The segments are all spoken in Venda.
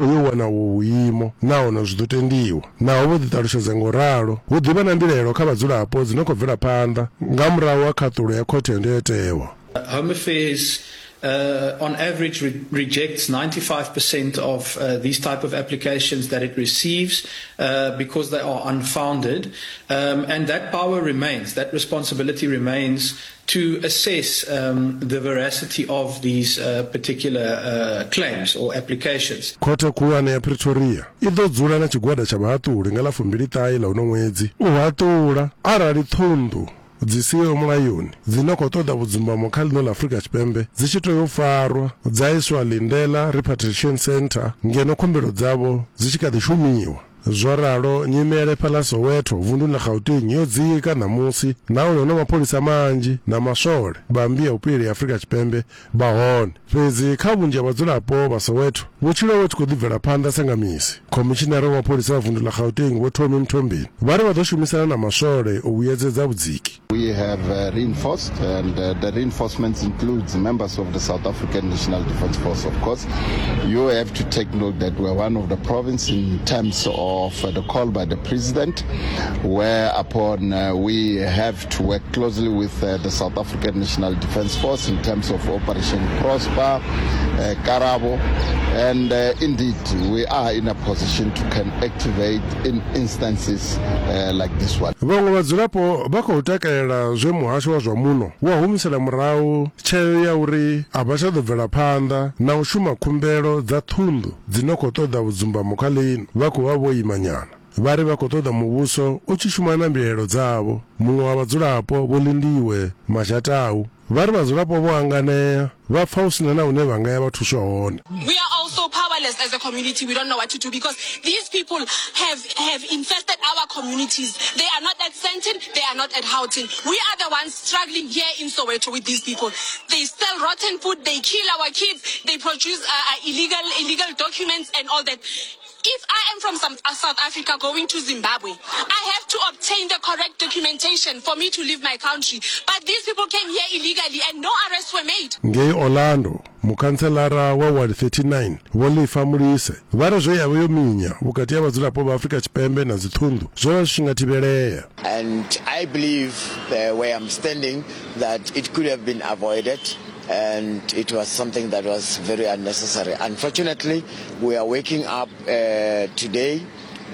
U yo wana uvhu vhuimo nahone zwi ḓo tendiwa. Naho vho ḓiṱalutshedza nga u ralo, hu ḓi vha na mbilaelo kha vhadzulapo dzi no khou bvela phanḓa nga murahu ha khaṱulo ya khothe ya ndayotewa. Home Affairs on average re rejects 95% of uh, these type of applications that it receives uh, because they are unfounded. Um, and that power remains, that responsibility remains to assess um, the veracity of these uh, particular uh, claims or applications. Khothe khulwane ya Pretoria i ḓo dzula na tshigwada tsha vhahaṱuli nga ḽa 29 ḽa uno ṅwedzi u haṱula arali ṱhunḓu dzi siho mulayoni dzi no khou ṱoḓa vhudzumbamo kha ḽino ḽa Afrika Tshipembe dzi tshi tea u farwa dza iswa Lindela Repatriation Centre ngeno khumbelo dzavho dzi tshi kha ḓi shumiwa. Zwo ralo, nyimele fhaḽa Soweto, vunduni ḽa Gauteng, yo dzika ṋamusi nahone hu na mapholisa manzhi na maswole vha Mmbi ya Vhupileli ya Afrika Tshipembe vha hone. Fhedzi kha vhunzhi ha vhadzulapo vha Soweto, vhutshilo vhu tshi khou ḓi bvela phanḓa sa nga misi. Khomishinari wa mapholisa vha vundu ḽa Gauteng Vho Tommy Mthombeni vha ri vha ḓo shumisana na maswole u vhuyedzedza vhudziki. We have uh, reinforced, and uh, the reinforcements includes members of the South African National Defence Force, of course. You have to take note that we're one of the provinces in terms of uh, the call by the president, whereupon uh, we have to work closely with uh, the South African National Defence Force in terms of Operation Prosper, uh, Karabo, and uh, indeed we are in a position to can activate in instances uh, like this one. Vhaṅwe vhadzulapo vha khou takalela zwe muhasho wa zwa muno wa humisela murahu tsheo ya uri a vha tsha ḓo bvela phanḓa na u shuma khumbelo dza ṱhunḓu dzi no khou ṱoḓa vhudzumbamo kha ḽino vha khou vha vho ima nyana. Vha ri vha khou ṱoḓa muvhuso u tshi shuma na mbilaelo dzavho. Muṅwe wa vhadzulapo, Vho Lindiwe Mazhatau, Vha ri vhadzulapo vho hanganea, vha pfa hu si na na hune vha nga ya vha thuswa hone. We are also powerless as a community. We don't know what to do because these people have, have infested our communities. They are not at Sandton, they are not at Houghton. We are the ones struggling here in Soweto with these people. They sell rotten food, they kill our kids, they produce uh, uh illegal, illegal documents and all that. If I am from some, uh, South Africa going to Zimbabwe, I have to obtain the correct documentation for me to leave my country. But these people came here illegally and no arrests were made. Ngei Orlando, mukhantselara wa Ward 39 Vho Lifa Mulise vha ri zwe ya vha yo minya vhukati ha vhadzulapo vha Afrika Tshipembe na dziṱhunḓu zwo vha zwi tshi nga thivhelea. And I believe uh, where I'm standing that it could have been avoided and it was something that was very unnecessary. Unfortunately, we are waking up uh, today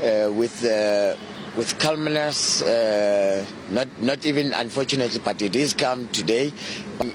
uh, with uh, with calmness, uh, not not even unfortunately, but it is calm today,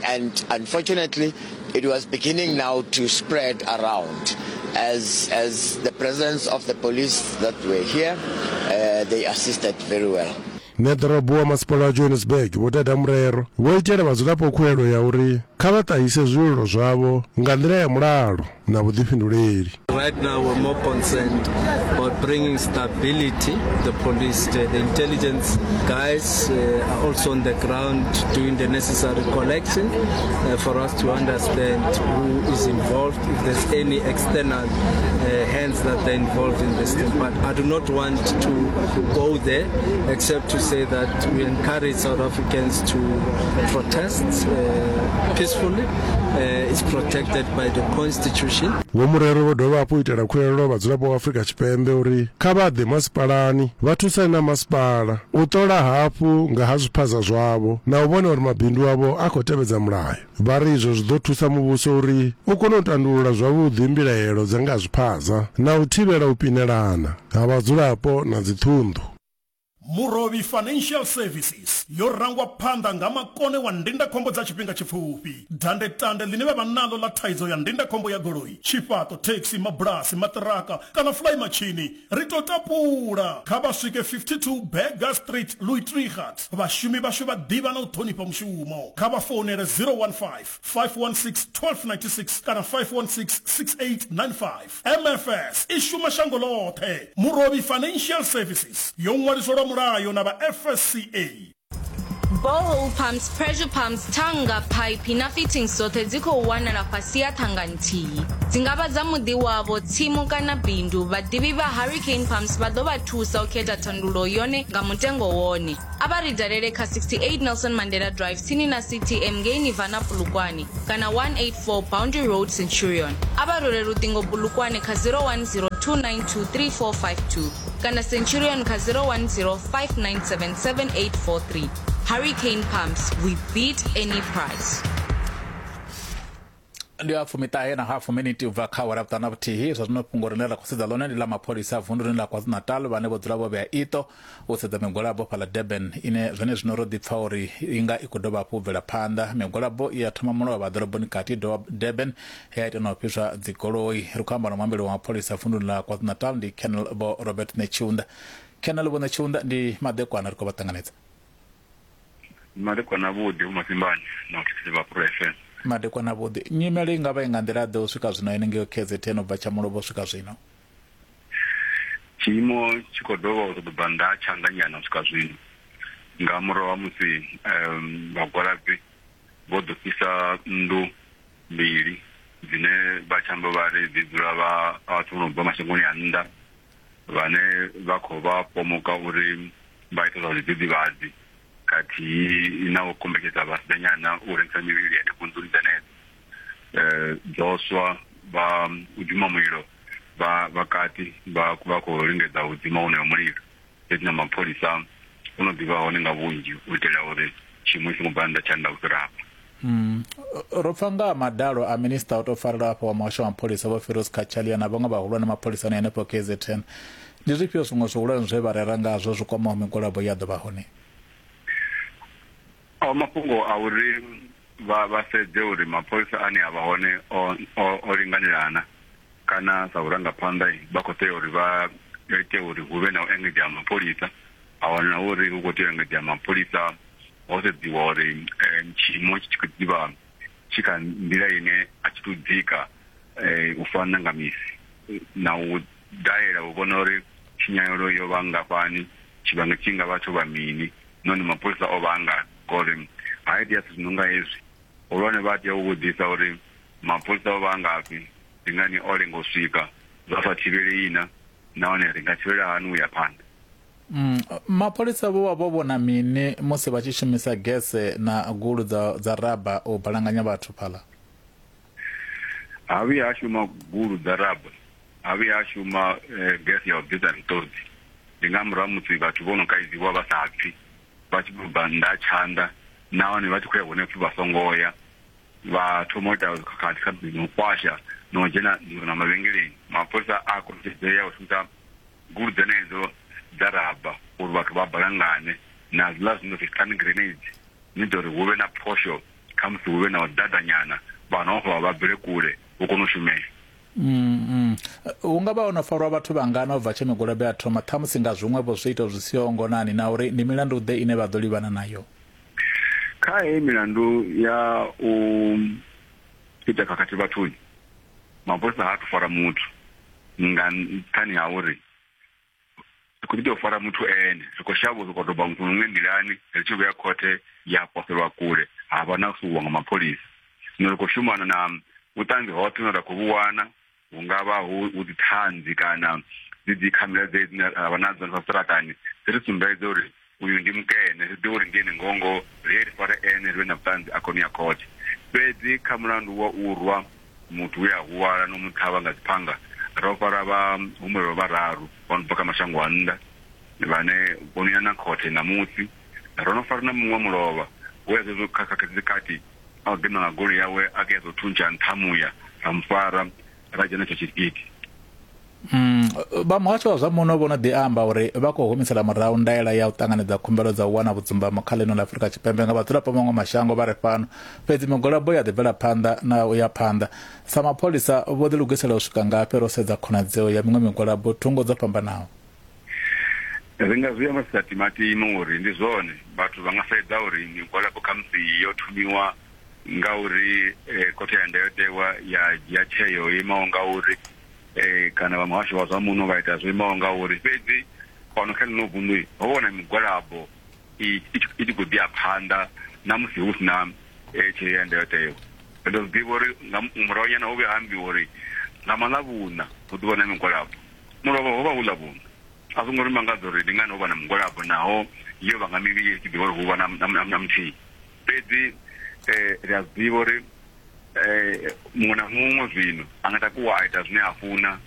and unfortunately, it was beginning now to spread around. As as the presence of the police that were here, uh, they assisted very well. Ṋeḓorobo wa masipala wa Johannesburg Vho Dada Murero vho itela vhadzulapo khuwelelo ya uri kha vha ṱahise zwililo zwavho nga nḓila ya mulalo na vhuḓifhinduleli. Right now we're more concerned about bringing stability. The police, the, the intelligence guys uh, are also on the ground doing the necessary collection uh, for us to understand who is involved, if there's any external uh, hands that are involved in this thing. But I do not want to go there except to say that we encourage South Africans to protest uh, peacefully. Uh, it's protected by the constitution. Vho Murero vho dovha hafhu itela khuwelelo vhadzulapo vha Afrika Tshipembe uri kha vha ḓe masipalani vha thusane na masipala u ṱola hafhu nga ha zwiphaza zwavho na u vhona uri mabindu avho a khou tevhedza mulayo. Vha ri izwo zwi ḓo thusa muvhuso uri u kone u tandulula zwavhuḓi mbilaelo dza nga ha zwiphaza na u thivhela u pinelana ha vhadzulapo na dziṱhunḓu. Murovhi Financial Services yo rangwa phanḓa nga makone wa ndindakhombo dza tshifhinga tshipfufhi. Dandetande ḽine vha vha naḽo ḽa thaidzo ya ndindakhombo ya goloi, tshifhaṱo, thekhisi, mabulasi, maṱiraka kana fulaimatshini ri tou tapula. Kha vha swike 52 Burger Street, Louis Trichardt. Vhashumi vhashu vha ḓivha na u ṱhonifha mushumo. Kha vha founele 015 516 1296 kana 516 6895. MFS i shuma shango ḽoṱhe. Murovhi Financial Services yo ṅwaliswa lwa mulayo na vha FSCA. Borehole pumps, pressure pumps, thannga, phaiphi na fittings dzoṱhe dzi khou wanala fhasi ha ṱhanga nthihi. Dzi nga vha dza muḓi wavho, tsimu kana bindu, vhaḓivhi vha Hurricane Pumps vha ḓo vha thusa u khetha thandululo yone nga mutengo wone. A vha ri dalele kha 68 Nelson Mandela Drive tsini na CTM ngei Nirvana Polokwane kana 184 Boundary Road Centurion. A vha rwele luṱingo Polokwane kha 010 292 3452 kana Centurion kha 010 597 7843. Hurricane Pumps, we beat any price. Ndi a fumiṱahe na hafu miniti u bva kha awara vhuṱanu na vhuthihi. Zwa zwino fhungo rine ra khou sedza ḽone ndi ḽa mapholisa a vunduni ḽa KwaZulu-Natal vhane vho dzula vho vhea iṱo u sedza migwalabo fhaḽa Durban ine zwenezwino ro ḓi pfa uri i nga i khou dovha hafhu u bvela phanḓa. Migwalabo i ya thoma mulovha ḓoroboni kati Durban he ya ita na u fhiswa dzigoloi. Ri khou amba na muambeli wa mapholisa vunduni ḽa KwaZulu-Natal ndi Colonel Vho Robert Netshiunda. Colonel Vho Netshiunda, ndi madekwana, ri khou vha ṱanganedza. Madekwana avhuḓi Vho Masimbane na vhathetshelesi vha Pro FM. Madekwana avhuḓi. Nyimele i nga vha i nga nḓila ḓe u swika zwino henengei KZN u bva tsha mulovha u swika zwino? Tshiimo tshi khou dovha u ṱoḓa bva nnḓa ha tshanḓa nyana u swika zwino nga murahu ha musi vhagwalabi vho ḓo fhisa nnḓu mbili dzine vha tshi amba vha ri dzi dzula vha vhathu vho no bva mashangoni a nnḓa vhane vha khou vha pomoka uri vha ita zwa zwidzidzivhadzi khathihi na u kombetshedza vhasidzanyana u rengisa mivhili henefho nḓuni dzenedzo. Dzo swa vha u dzima mulilo vha vha kati vha vha khou lingedza u dzima wonoyo mulilo, fhedzi na mapholisa o no ḓi vha hone nga vhunzhi u itela uri tshiimo tshi songo bva nnḓa tsha nnḓa u fhira hafha. Ro pfa nga ha madalo a minisiṱa o tou farelwa afho wa muhasho wa mapholisa Vho Firoz Cachalia na vhaṅwe vhahulwane mapholisani henefho KZN. Ndi zwifhio zwiṅwe zwihulwane zwe vha rera ngazwo zwi kwamaho migwalabo ye ya ḓo vha hone? A mafhungo a uri vha vha sedze uri mapholisa ane a vha hone o o linganelana kana sa vhurangaphanḓa vha khou tea uri vha ite uri hu vhe na u engedzea ha mapholisa, a wana uri hu khou tea u engedzea mapholisa ho sedziwa uri tshiimo tshi khou ḓivha tshi kha nḓila ine a tshi tou dzika u fana nga misi na u dalela u vhona uri tshinyalelo yo vha nngafhani, tshivhangi tshi nga vha tsho vha mini nahone mapholisa o vha a ngafhi ngori ha itea zwithu zwi no nga hezwi hulwane vha tea u vhudzisa uri mapholisa o vha a ngafhi, ndi ngani o lenga u swika, zwa sa thivhelei na nahone ri nga thivhela hani u ya phanḓa. Mapholisa vho vha vho vhona mini musi vha tshi shumisa gese na gulu dza, dza raba u balanganya vhathu fhaḽa? Ha vhuya ha shuma gulu dza raba, ha vhuya ha shuma gese ya u bvisa miṱodzi. Ndi nga murahu ha musi vhathu vho no kaidziwa vha sa pfi, vha tshi khou bva nnḓa ha tshanḓa nahone vha tshi khou ya hune pfi vha songo ya, vha thoma u ita khakhathi kha na u kwasha na u dzhena na mavhengeleni. Mapholisa a kombetshedzea u shumisa gulu dzenedzo dza raba uri vhathu vha balangane na zwiḽa zwine zwa pfi stun grenades ni ita uri hu vhe na phosho khamusi hu vhe na u ḓaḓanyana vha vha bvele kule hu kone u shumea. Hu nga vha ho no farwa vhathu vhangana u bva tshe migwalabo ya thoma, ṱhamusi nga zwiṅwe-vho zwiito zwi siho ngonani, na uri ndi milandu-ḓe ine vha ḓo livhana nayo? Kha heyi milandu ya u ita khakhathi vhathuni, mapholisa ha athu fara muthu nga nṱhani ha uri ri khou ḓi tea u fara muthu ene, ri khou shavha u sokou doba muthu muṅwe nḓilani ri tshi vhuya khothe ya poselwa kule ha vha na u suwiwa nga mapholisa. Zwino ri khou shumana na vhuṱanzi hoṱhe hune ra khou vhu wana, hu nga vha hu dziṱhanzi kana dzi dzi khamera dzedzi dzine ra vha nadzo hanefha zwiṱaraṱani dzi ri sumbedze uri uyu ndi mukene, ri ḓivhe uri ndi ene ngoho ngoho, ri ye ri fare ene ri vhe na vhuṱanzi a kone u ya khothe. Fhedzi kha mulandu wa u rwa muthu we a huvhala no mu ṱhavha nga dziphanga, ro fara vhahumbulelwa vhararu vha no bva kha mashango a nnḓa vhane vho no ya na khothe ṋamusi. Ro no fara na muṅwe mulovha we a zwezwo kha khakhathi dzi kati a u gidima nga goloi yawe a ke a ḓo thuntsha nṱha muya, ra mu fara ra dzhena tsha tshigidi. Vha muhasho wa zwa muno vho no ḓi amba uri vha khou humisela murahu ndaela ya u ṱanganedza khumbelo dza u wana vhudzumbamo kha ḽino ḽa Afrika Tshipembe nga vhadzulapo vha maṅwe mashango vha re fhano. Fhedzi migwalabo ya ḓi bvela phanḓa na u ya phanḓa. Sa mapholisa vho ḓilugisela u swika ngafhi ro sedza khonadzeo ya miṅwe migwalabo thungo dzo fhambanaho? Ri nga zwi amba zwi sa timatimi uri ndi zwone, vhathu vha nga sedza uri migwalabo khamusi yo thomiwa ngauri khothe ya ndayotewa ya dzhia tsheo yo imaho ngauri kana vha muhasho wa zwa muno vha ita zwo imaho ngauri. Fhedzi fhano kha ḽino vunḓu ho vha hu na migwalabo i tshi khou ḓi ya phanḓa na musi hu si na tsheo ya ndayotewa. Ri ḓo zwi ḓivha uri nga murahunyana ho vhuya ha ambiwa uri nga maḽavhuṋa hu ḓo vha na migwalabo. Mulovha ho vha hu Ḽavhuṋa. A zwo ngo ri mangadza uri ndi ngani ho vha na mugwalabo naho yo vha nga mivhili ri tshi ḓivha uri hu vha na muthihi. Fhedzi ri a zwi ḓivha uri muṅwe na muṅwe zwino a nga takuwa a ita zwine a funa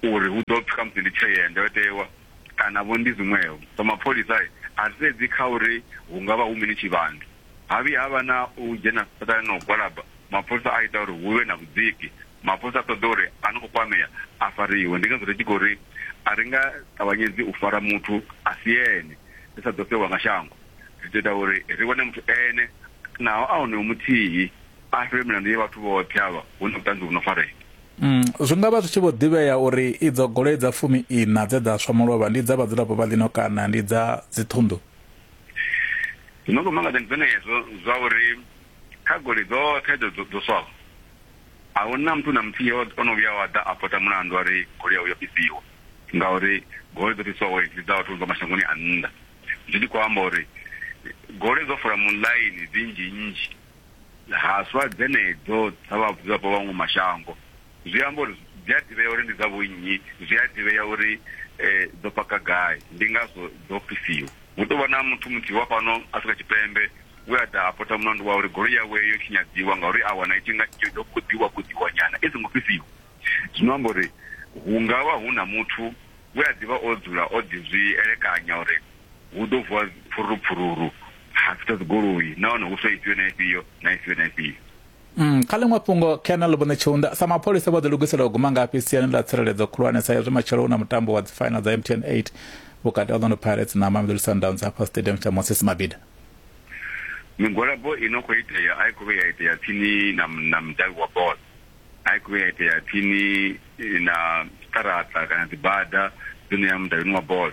uri hu ḓo pfi khamusi ndi tsheo ya ndayotewa kana vho ndi zwiṅwevho. Sa mapholisa a ri sedzi kha uri hu nga vha hu mini tshivhangi. Ha vhuya ha vha na u dzhena siṱaṱani na u gwalaba, mapholisa a ita uri hu vhe na vhudziki. Mapholisa a ṱoḓa uri a no khou kwamea a fariwe. Ndi ngazwo ri tshi khou ri a ri nga ṱavhanyedzi u fara muthu a si ene, ri sa ḓo sewa nga shango. Ri ḓo ita uri ri wane muthu ene, naho a onoyo muthihi, a fhiwe milandu ya vhathu vhoṱhe avha hu na vhuṱanzi vhu no farea. Zwi nga vha zwi tshi vho ḓivhea uri idzo goloi dza 14 dze dza swa mulovha ndi dza vhadzulapo vha ḽino kana ndi dza dziṱhunḓu? Zwi no khou mangadza ndi zwenezwo zwa uri kha goloi dzoṱhe dzo swaho, a hu na muthu na muthihi o no vhuya wa ḓa a pota mulandu a ri goloi yawe yo fhisiwa, ngauri goloi dzo fhiswaho ndi dza vhathu vha mashangoni a nnḓa. Zwi tshi khou amba uri goloi dzo fola muḽaini dzi nnzhi-nnzhi, ha swa dzenedzo dza vhadzulapo vha maṅwe mashango. Zwi amba uri dzi a ḓivhea uri ndi dza vhonnyi, zwi a ḓivhea uri dzo paka gai, ndi ngazwo dzo fhisiwa. Hu tou vha na muthu muthihi wa fhano Afrika Tshipembe we a ḓa a pota mulandu wa uri goloi yawe yo tshinyadziwa ngauri a wana i tshi nga yo koḓiwa koḓiwa nyana i songo fhisiwa. Zwino amba uri hu nga vha hu na muthu we a ḓi vha o dzula o ḓi zwi elekanya uri hu ḓo vuwa phururu phururu ha fhisa dzigoloi nahone hu swe ifhio na ifhio na ifhio na ifhio. Kha ḽiṅwe fhungo, Colonel Vho Netshiunda, sa mapholisa vho ḓilugisela u guma ngafhi siani ḽa tsireledzo khulwane sa izwi matshelo hu na mutambo wa dzifaina dza MTN 8 vhukati ha Orlando Pirates na Mamelodi Sundowns hafha stadium tsha Moses Mabhida? Migwalabo i no khou itea a i khou vhuya ya itea tsini na, na mudavhi wa bola, a i khou vhuya ya itea tsini na zwiṱaraṱa kana dzibada dzi no ya mudavhini wa bola.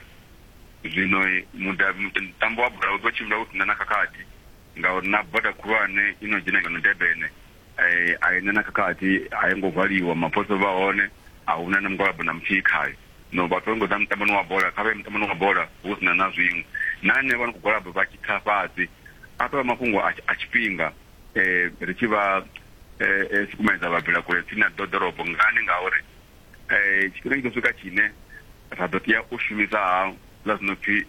Zwino mudavhi, mutambo wa bola u ḓo tshimbila hu si na na khakhathi ngauri na bada khulwane i no dzhena ngeno Durban a i na na khakhathi, a i ngo valiwa, mapholisa vha hone, a hu na na mugwalabo na muthihi khayo. No vhathu vha ngo ḓa mutamboni wa bola, kha vha ye mutamboni wa bola hu si na na zwiṅwe. Na hanevha vha no khou gwalaba vha tshi tsa fhasi, a tou vha mafhungo a tshifhinga ri tshi vha sukumedza vha bvela kule tsini na ḓorobo. Ngani? Ngauri tshifhinga tshi ḓo swika tshine ra ḓo tea u shumisa ha zwa zwino pfi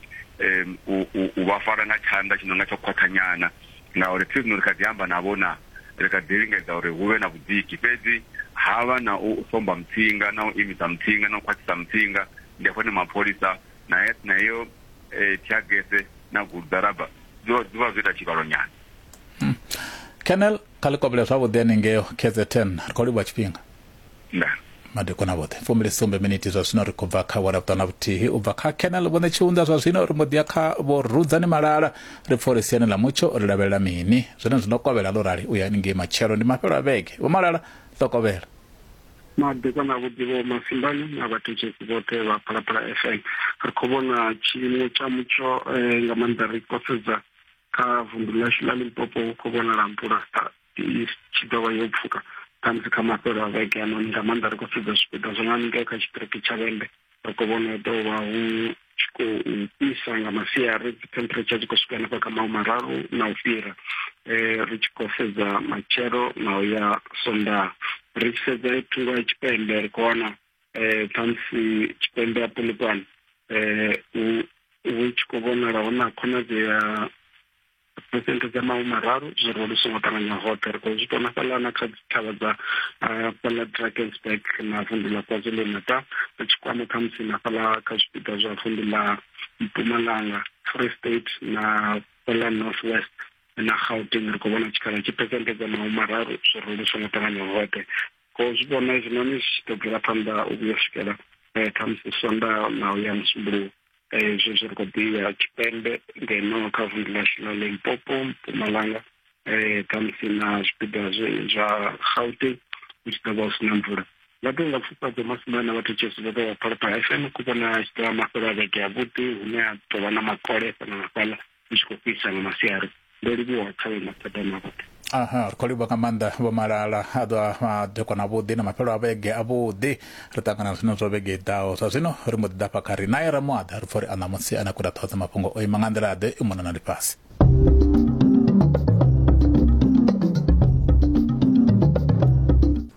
u vha fara nga tshanḓa tshi no nga tsho khwaṱha nyana, ngauri thi zwino ri kha ḓi amba navho na ri kha ḓi lingedza uri hu vhe na vhudziki, fhedzi ha vha na u somba mutsinga na u imisa mutsinga na u khwaṱhisa mutsinga, ndi hafho hune mapholisa na na heyo theagese na guḓaraba zwi vha zwo ita tshivhalo nyana. Colonel, kha ḽi kovhele zwavhuḓi haningeo KZN, ri khou livhuwa tshifhinga. Ndaa. Madekwana vhoṱhe 27 miniti zwa zwino ri khou bva kha awara vhuṱanu na vhuthihi u bva kha Colonel Vho Ṋetshiunḓa zwa zwino ri mbo ḓi ya kha Vho Rudzani Malala ri pfa uri siani ḽa mutsho ri lavhelela mini zwone zwi no kovhela ḽo rali u ya haningei matshelo ndi mafhelo a vhege. Vho Malala ḽo kovhela. Madekwana avhuḓi Vho Masimbani na vhathetshelesi vhoṱhe vha Phalaphala FM. Ri khou vhona tshiimo tsha mutsho nga maanḓa ri khou sedza kha vunḓu ḽashu ḽa Limpopo hu khou vhonala mvula i tshi ḓo vha yo pfuka khamusi kha mafhelo a vhege anoni nga maanḓa ri khou sedza zwipiḓa zwa nga haningei kha tshiṱiriki tsha Vhembe ri khou vhona hu ḓo vha hu tshi khou fhisa nga masiari dzi temperature dzi khou swika hanefha kha mahumararu na u fhira ri tshi khou sedza matshelo na u ya Sondaha ri tshi sedza thungo ya tshipembe ri khou wana khamusi tshipembe ya Polokwane hu tshi khou vhonala hu na khonadzeo ya phesenthe dza mahumararu zwi ro lu songo ṱanganya hoṱhe. Ri khou zwi vhona fhaḽa na kha dzithavha dza fhaḽa Drakensberg na vunḓu ḽa KwaZulu-Natal, ri tshi kwama khamusi na fhaḽa kha zwipiḓa zwa vunḓu ḽa Mpumalanga, Free State na fhaḽa North West na Gauteng. Ri khou vhona tshikhala tshi phesenthe dza mahumararu zwi ro lu songo ṱanganya hoṱhe. Khou zwi vhona hezwinoni zwi tshi ḓo bvela phanḓa u vhuya u swikela khamusi Sondaha na u ya Musumbuluwo. Zwezwi ri khou ḓi ya tshipembe ngeno kha vunḓu ḽashu ḽa Limpopo, Mpumalanga khamusi na zwipiḓa zwa Gauteng hu tshi ḓo vha hu si na mvula. Nga ḓuvha ḽa pfufhadzo Masimba na vhathetshelesi vhoṱhe vha Phalaphala FM ku vhona tshi ḓo vha mafhelo a vhege avhuḓi hune ha ḓo vha na makole fhano na fhaḽa hu tshi khou fhisa nga masiari. Ndo livhuwa kha vhe mathada na vhoṱhe. Aha, ri khou livhuwa nga maanḓa Vho Malala. A ḓo madekwana avhuḓi na mafhelo a vhege avhuḓi. Ri ṱangana zwino zwa vhege i ḓaho. Zwa zwino ri mbo ḓi ḓa fha kha ri naye Ramuaḓa ri pfa uri a ṋamusi a na kuda ṱhoho dza mafhungo o ima nga nḓila ḓe i mona na ḽifhasi.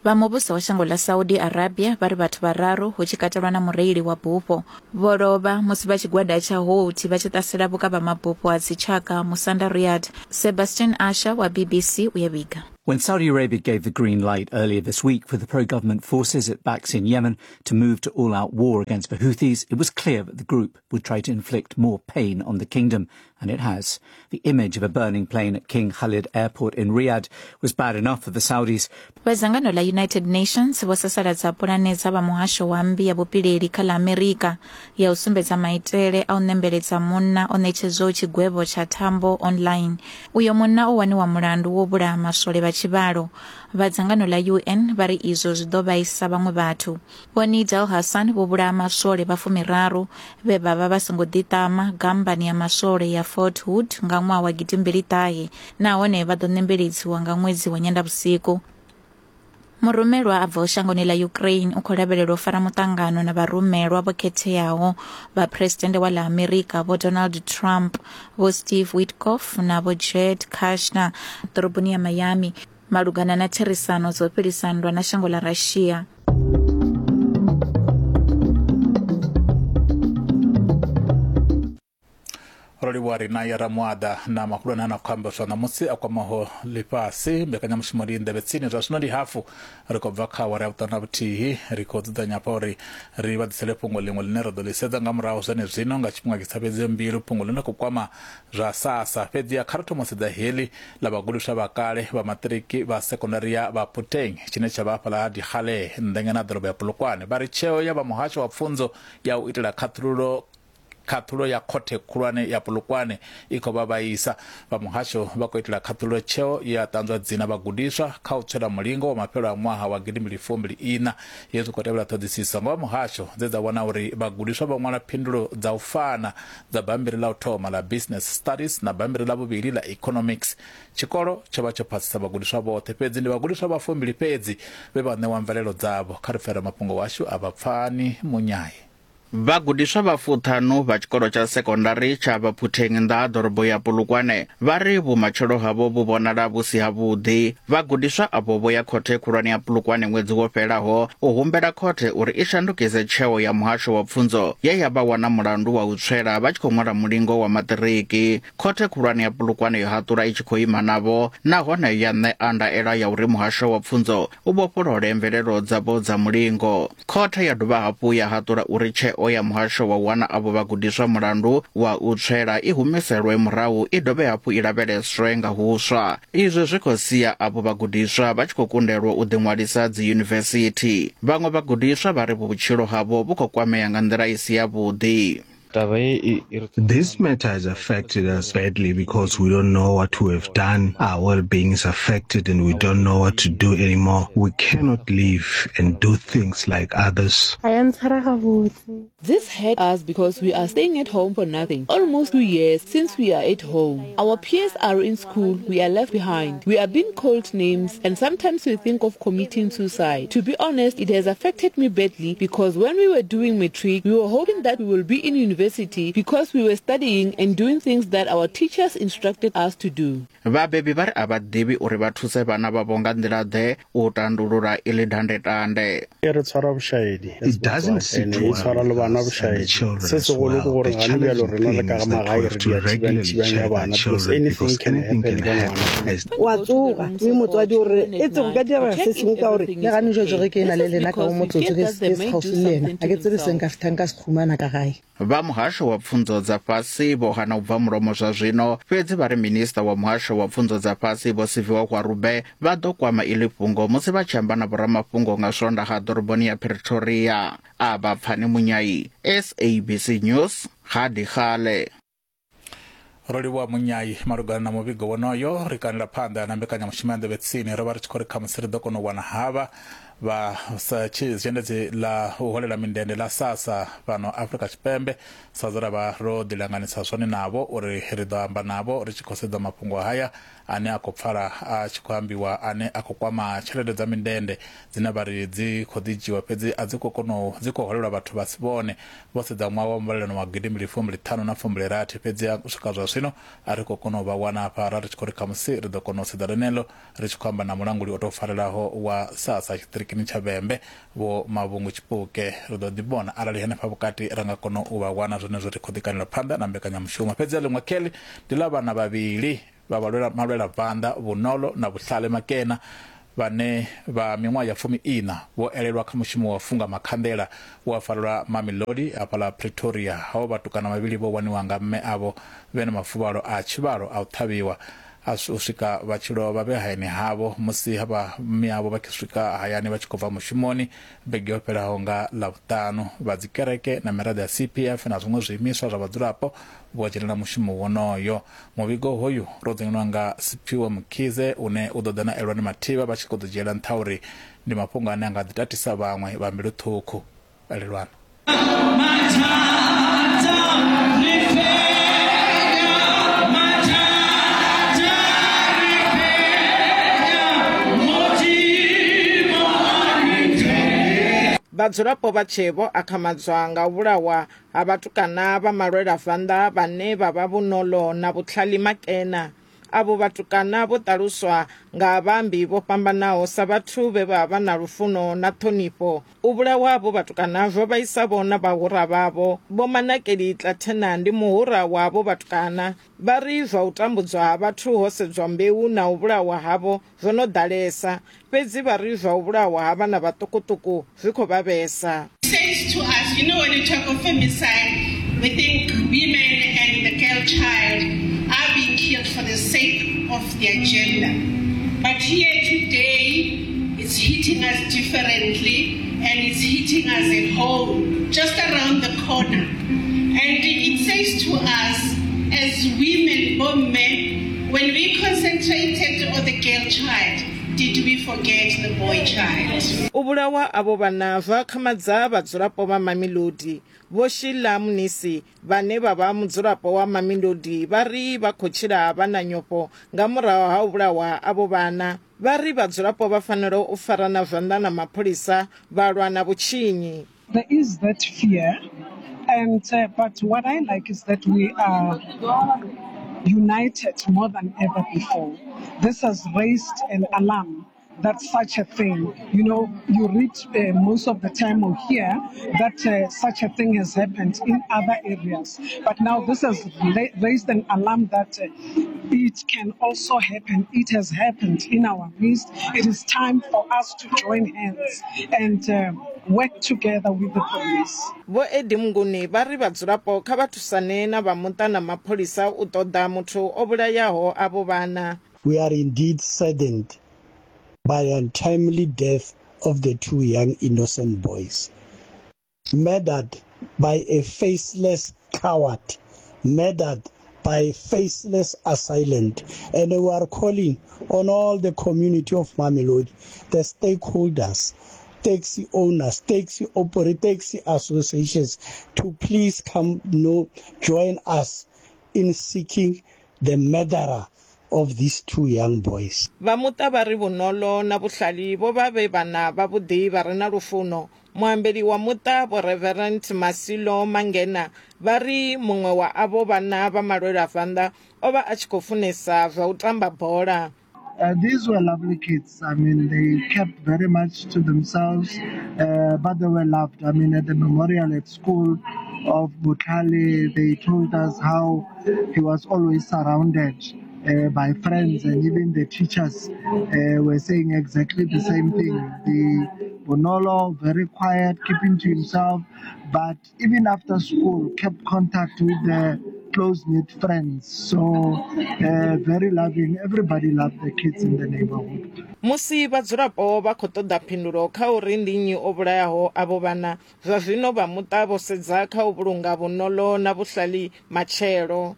Vha muvhuso wa shango ḽa Saudi Arabia vha ri vhathu vhararu hu tshi katelwa na mureili wa bufho vho lovha musi vha tshigwada tsha Houthi vha tshi ṱasela vhukavhamabufho ha dzitshaka musanda Riyadh. Sebastian Asher wa BBC u ya vhiga. When Saudi Arabia gave the green light earlier this week for the pro-government forces it backs in Yemen to move to all-out war against the Houthis, it was clear that the group would try to inflict more pain on the kingdom, and it has. The image of a burning plane at King Khalid Airport in Riyadh was bad enough for the Saudis. Vha dzangano ḽa United Nations vho sasaladza pulane dza vha muhasho wa mmbi ya vhupileli kha ḽa Amerika ya u sumbedza maitele a u ṋembeledza munna o ṋetshedzwaho tshigwevho tsha thambo online. Uyo munna o waniwa mulandu wo vhulaha maswole vha tshivhalo. Vha dzangano ḽa UN vha ri izwo zwi ḓo vhaisa vhaṅwe vhathu. Vho Nidal Hasan vho vhulaha maswole vha fumiraru vhe vha vha vha songo ḓiṱama gammbani ya maswole ya Fort Hood nga ṅwaha wa gidimbili ṱahe nahone vha ḓo ṋembeledziwa nga ṅwedzi wa Nyendavhusiku. Murumelwa a bvaho shangoni ḽa Ukraine u khou lavhelelwa u fara muṱangano na vharumelwa vho khetheaho vha Phresidennde wa ḽa Amerika Vho Donald Trump, Vho Steve Witkoff na Vho Jared Kushner ḓoroboni ya Miami malugana na therisano dza u fhelisa nndwa na shango ḽa Russia. Ro livhuwa ri na ya Ramuaḓa na mahulwane a na khou ambeswa ṋamusi a kwamaho ḽifhasi. Mbekanyamushumo ndi nḓevhe tsini zwa zwino ndi hafu ri khou bva kha awara ya vhuṱanu na vhuthihi. Ri khou dzudzanya hafha uri ri vha ḓisele fhungo ḽiṅwe ḽine ra ḓo ḽi sedza nga murahu zwenezwino nga tshifhinga tshi sa fhedzi mbilu, fhungo ḽine khou kwama zwa SASSA. Fhedziha kha ri thoma u sedza heḽi ḽa vhagudiswa vha kale vha maṱiriki vha sekondari ya Baputeng tshine tsha vha hafhaḽa ha Dikgale nnḓengena na ḓorobo ya Polokwane. Vha ri tsheo ya vha muhasho wa pfunzo ya u itela khaṱhululo Khaṱhulo ya Khothe Khulwane ya Polokwane i khou vha vhaisa. Vha muhasho vha khou itela khaṱhululo tsheo ye ya ṱanzwa dzina vhagudiswa kha u tswela mulingo wa mafhelo a ṅwaha wa gidimbili fumbili iṋa. Hezwi khou tevhela ṱhoḓisiso nga vha muhasho dze dza wana uri vhagudiswa vho ṅwala phindulo dza u fana dza bammbiri ḽa u thoma ḽa Business Studies na bammbiri ḽa vhuvhili ḽa Economics. Tshikolo tsho vha tsho phasisa vhagudiswa vhoṱhe, fhedzi ndi vhagudiswa vha fumbili fhedzi vhe vha ṋewa mvelelo dzavho. Kha ri pfe ramafhungo washu a vha Pfani Munyai. Vhagudiswa vha fuṱhanu vha tshikolo tsha sekondari tsha Baphutheng nnḓa ha ḓorobo ya Polokwane vha ri vhumatshelo havho vhu vhonala vhu si havhuḓi. Vhagudiswa avho vho ya khothe khulwane ya Polokwane ṅwedzi wo fhelaho u humbela khothe uri i shandukise tsheo ya muhasho wa pfunzo ye ya vha wana mulandu wa u tswela vha tshi khou ṅwala mulingo wa maṱiriki. Khothe khulwane ya Polokwane yo haṱula i tshi khou ima navho nahone ya ṋea ndaela ya uri muhasho wa pfunzo u vhofholole mvelelo dzavho dza mulingo. Khothe ya dovha hafhu ya haṱula uri tsheo ya muhasho wa u wana avho vhagudiswa mulandu wa u tswela i humiselwe murahu i dovhe hafhu i lavheleswe nga huswa. Izwi zwi khou sia avho vhagudiswa vha tshi khou kundelwa u ḓiṅwalisa dziyunivesithi. Vhaṅwe vhagudiswa vha ri vhutshilo havho vhu khou kwamea nga nḓila i si yavhuḓi. This matter has affected us badly because we don't know what we have done. Our well-being is affected and we don't know what to do anymore. We cannot live and do things like others. This hurt us because we are staying at home for nothing. Almost 2 years since we are at home. Our peers are in school, we are left behind. We are being called names and sometimes we think of committing suicide. To be honest, it has affected me badly because when we were doing matric, we were hoping that we will be in university because we were studying and doing things that our teachers instructed us to do. Vhabebi vha ri a vha ḓivhi uri vha thuse vhana vhavho nga nḓila-ḓe u tandulula iḽi dandetande. E re tshwara bošaedi It doesn't sit ene e well tshwara le with bana us and the bošaedi. children Se as segolo ke well. gore The gane bjalo challenging rena le thing ka is that magae we re have to dia regularly thibang-thibang ya check our bana because children anything because can anything happen can ka happen. ngwana. As Wa tsoga mme motswadi o re e tse go ka direga se sengwe ka gore Le gane jwa ge ke na le lena ka o motsotso ke ke se kgauswi le yena ga ke tsebe se nka fethang ka se khumana ka gae. Vha muhasho wa pfunzo dza fhasi vho hana u bva mulomo zwa zwino, fhedzi vha ri minisiṱa wa muhasho wa pfunzo dza fhasi Vho Siviwe Gwarube vha ḓo kwama iḽi fhungo musi vha tshi amba na vhoramafhungo nga Swondaha ḓoroboni ya Pretoria. A vha Pfani Munyai, SABC News, Ga-Dikgale. Ro livhuwa Munyai malugana na muvhigo wonoyo. Ri kanela phanḓa na mbekanyamushumo ya nḓevhe tsini. Ro vha ri tshi khou ri khamusi ri ḓo kona u wana havha Vha sa zhendedzi ḽa u holela mindende ḽa SASSA fhano Afrika Tshipembe sa zwe ra vha ro ḓilanganisa zwone navho uri ri ḓo amba navho ri tshi khou sedza mafhungo haya ane a khou pfala a tshi khou ambiwa ane a khou kwama tshelede dza mindende dzine vha ri dzi khou ḓi dzhiwa fhedzi a dzi khou kona u dzi khou holelwa vhathu vha si vhone vho sedza ṅwaha wa muvhalelano wa gidimbili fumbili ṱhanu na fumbili rathi fhedzi u swika zwa zwino a ri khou kona u vha wana hafha ra ri tshi khou ri khamusi ri ḓo kona u sedza ḽeneḽo Ri tshi khou amba na mulanguli o tou farelaho wa SASSA tshiṱirikini tsha Vhembe, Vho Mavhungu Tshipuke. Ri ḓo ḓi vhona arali henefha vhukati ra nga kona u vha wana zwenezwo ri khou ḓi kanela phanḓa na mbekanyamushumo. Fhedzi ḽiṅwe kheḽi ndi ḽa vhana vhavhili vha malwelabvanḓa, Vhunolo na Vhuhlale Makena, vhane vha miṅwaha ya fumi-iṋa vho elelwa kha mushumo wa u funga makhanḓela we wa farelwa Mamelodi hafhaḽa Pretoria. Havho vhatukana vhavhili vho waniwa nga mme avho vhe na mafuvhalo a tshivhalo a u ṱhavhiwa a u swika vha tshi lovha vhe hayani havho musi havha mme avho vha tshi swika hayani vha tshi khou bva mushumoni vhege yo fhelaho nga Ḽavhuṱanu. Vha dzikereke na miraḓo ya CPF na zwiṅwe zwiimiswa zwa vhadzulapo vho dzhenela mushumo wonoyo. Muvhigo hoyu ro dzinginwa nga Siphiwe Mkhize une u ḓo ḓa na Elwani Mathivha vha tshi khou ḓo dzhiela nṱha uri ndi mafhungo ane a nga ḓi tatisa vhaṅwe vha mbilu ṱhukhu. Elelwani. Vhadzulapo vha tshe vho akhamadzwa nga u vhulawa ha vhatukana vha malwelavanḓa vhane vha vha Vhunolo na Vhutlhali Makena. Avho vhatukana vho ṱaluswa nga vhaambi vho fhambanaho sa vhathu vhe vha vha na lufuno na ṱhonifho. U vhulawa havho vhatukana zwo vhaisa-vho na vhahura vhavho. Vho Manakeli Tlathena ndi muhura wa avho vhatukana. Vha ri zwa u tambudzwa ha vhathu ho sedzwa mbeu na u vhulawa havho zwo no ḓalesa. Fhedzi vha ri zwa u vhulawa ha vhana vhaṱukuṱuku zwi khou vha vhesa. Says to us, you know when you talk of femicide, we think women and the girl child are being killed for the sake of their gender. But here today, it's hitting us differently and it's hitting us at home, just around the corner. And it says to us, as women, or men, when we concentrated on the girl child, did we forget the boy child? U vhulawa avho vhana zwo akhamadza vhadzulapo vha Mamelodi. Vho Sheila Mnisi vhane vha vha mudzulapo wa Mamelodi vha ri vha khou tshila vha na nyofho nga murahu ha u vhulawa avho vhana. Vha ri vhadzulapo vha fanela u farana zwanḓa na mapholisa vha lwa na vhutshinyi. There is that fear and uh, but what I like is that we are united more than ever before. This has raised an alarm that such a thing, you know, you read uh, most of the time or hear that uh, such a thing has happened in other areas. But now this has raised an alarm that uh, it can also happen. It has happened in our midst. It is time for us to join hands and uh, work together with the police. Vho Eddie Mnguni vha ri vhadzulapo kha vha thusane na vha muṱa na mapholisa u ṱoḓa muthu o vhulayaho avho vhana. We are indeed saddened by the untimely death of the two young innocent boys, murdered by a faceless coward, murdered by a faceless assailant. And we are calling on all the community of Mamelodi, the stakeholders, taxi owners, taxi operators, taxi associations, to please come no, join us in seeking the murderer of these two young boys. Vha muṱa vha ri Vhunolo na Vhuhlali vho vha vhe vhana vhavhuḓi vha re na lufuno. Muambeli wa muṱa Vho Reverend Masilo Mangena vha ri muṅwe wa avho vhana vha malwelavanḓa o vha a tshi khou funesa zwa u tamba bola. Uh, these were lovely kids. I mean, they kept very much to themselves, uh, but they were loved. I mean, at the memorial at school of Butali, they told us how he was always surrounded uh, by friends, and even the teachers uh, were saying exactly the same thing. The Bonolo, very quiet, keeping to himself, but even after school, kept contact with the close-knit friends. So uh, very loving. Everybody loved the kids in the neighborhood. Musi vhadzulapo vha khou ṱoḓa phindulo kha uri ndi nnyi o vhulayaho avho vhana, zwa zwino vha muṱa vho sedza kha u vhulunga vhunolo na vhuhlali matshelo.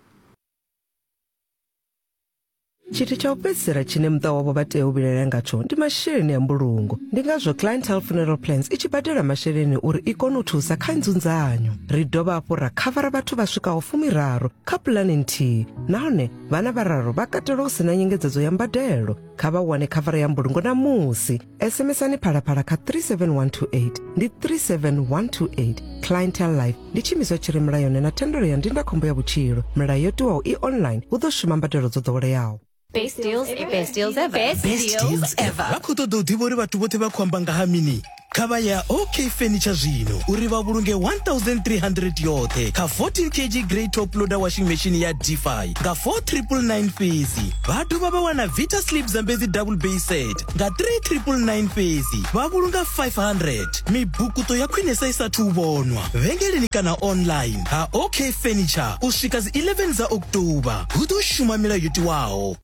Tshithu tsha u fhedzisela tshine muṱa wavho vha tea u vhilaela ngatsho ndi masheleni a mbulungo. Ndi ngazwo Clientele Funeral Plans i tshi badela masheleni uri i kone u thusa kha nzunzanyo. Ri dovha hafhu ra khavara vhathu vha swikaho fumiraru kha pulane nthihi nahone vhana vhararu vha katelwa hu si na nyengedzedzo ya mbadelo. Kha vha wane khavara ya mbulungo ṋamusi. SMSani Phalaphala kha 37128 ndi 37128. Clientele Life ndi tshiimiswa tshi re mulayoni na thendelo ya ndindakhombo ya vhutshilo. Milayo yo tiwaho i online hu ḓo shuma mbadelo dzo ḓoweleaho. Best deals ever. Best deals ever. Best, Best deals ever. Vha khou ṱoḓa u ḓivha uri vhathu vhoṱhe vha khou amba nga ha mini? Kha vha ya OK Furniture zwino uri vha vhulunge 1300 yoṱhe kha 14 kg grey top loader washing machine ya Defy nga 4999 fhedzi. Vha dovha vha wana Vita Sleep Zambezi double bay set nga 3999 fhedzi, vha vhulunga 500. Mibukuṱo ya khwinesa i sathu u vhonwa vhengeleni kana online ha OK Furniture u swika dzi 11 dza October. Hu ḓo shuma milayo yo tiwaho.